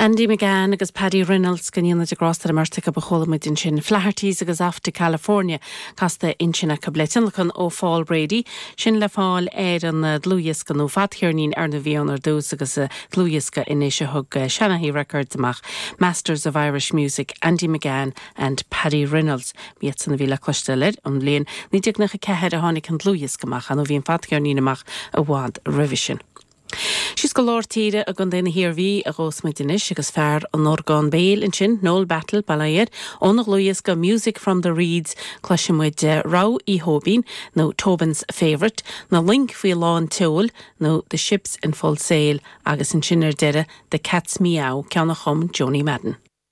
Andy McGann agus Paddy Reynolds, go ndéana Dia grásta ar an mbeirt acu a chuala muid ansin. Flaherty's agus Off to California casta ansin acu le tionlacan ó Phól Brady, sin le fáil ar an dlúthdhiosca nó fadcheirnín ar ndóigh a bhí ann ar dtús agus dlúthdhiosca anois a thug Shanaghy Records amach, Masters of Irish Music, Andy McGann and Paddy Reynolds. B'iadsan a bhí le cloisteáil air. An bhliain 1994 a tháinig an dlúthdhiosca amach, ar ndóigh bhí an fadcheirnín amach i bhfad roimhe sin. Síos go lár tíre i gContae na hIarmhí a ghabhfas muid anois agus fear an orgáin béil ansin, Noel Battle, bail ó Dhia air, óna dhlúthdhiosca Music from the Reeds cloisfidh muid Rogha Uí Thóibín nó Tobin's Favourite, Na Loing Faoi Lán tSeoil nó The Ships in Full Sail agus ansin ar deireadh The Cat's Meow, ceann a chum Joanie Madden.